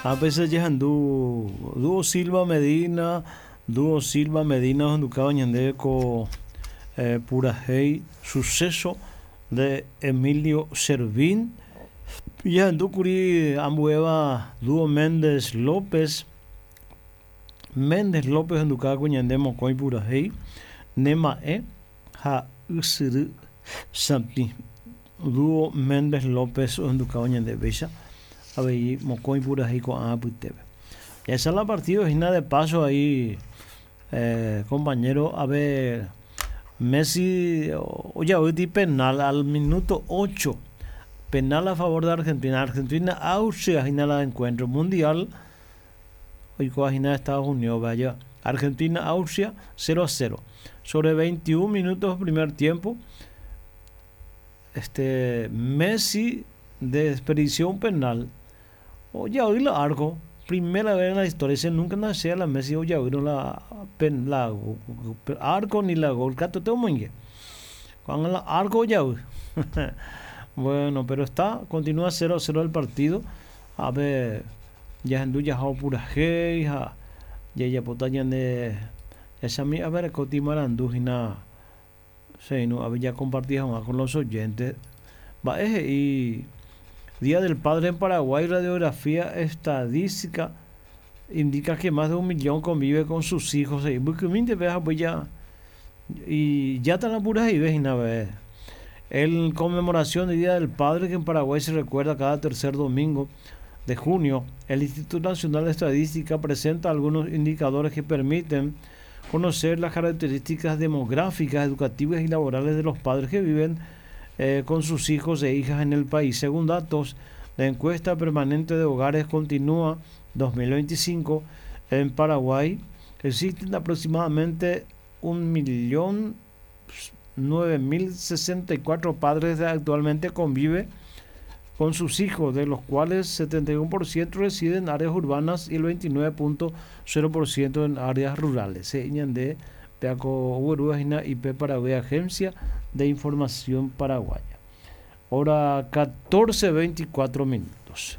A veces jehendu Dúo Silva Medina, Dúo Silva Medina ohendukáva ñandéve ko eh, purahéi Suceso de Emilio Servín. Jahendúkuri ambuéva Dúo Méndez López, Méndez López ohendukáva ko ñande mokõi purahéi Ne ma'ẽ ha Ysyry Satĩ. Dúo Méndez López ohendukáva ñande péicha avei mokõi purahéi ko'ã apytépe. Jahecha la partido hína de paso ahí eh, compañero a ver Messi ojavýti penal al minuto 8 penal a favor de Argentina. Argentina Austria hína la encuentro mundial oikóva hína Estados Unidos vaya Argentina Austria 0 a 0 sobre 21 minutos primer tiempo este Messi desperdició un penal ojavy la arco primera vez en la historia se nunca nacía la Messi ojavy la pen, la arco ni la gol katuete omoinge ko'ág̃a la arco ojavy bueno pero está continúa 0 a 0 el partido Ápe jahendu jaha opurahéi ha jajapóta ñande jachami avereko marandu hína che irũ ápe jakomparti hag̃ua con los oyentes. Mba'e he'i Día del Padre en Paraguay radiografía estadística indica que más de un millón convive con sus hijos he'i mbykymínte pe ha upéi ijáta la purahéive hína pe El conmemoración del Día del Padre que en Paraguay se recuerda cada tercer domingo de junio, el Instituto Nacional de Estadística presenta algunos indicadores que permiten conocer las características demográficas, educativas y laborales de los padres que viven eh, con sus hijos e hijas en el país. Según datos de encuesta permanente de hogares continúa 2025 en Paraguay, existen aproximadamente 1.009.064 padres actualmente convive con sus hijos, de los cuales 71% residen en áreas urbanas y el 29.0% en áreas rurales. He'i ñande peako oguerúva hína IP Paraguay Agencia de Información Paraguaya. Hora 14:24 minutos.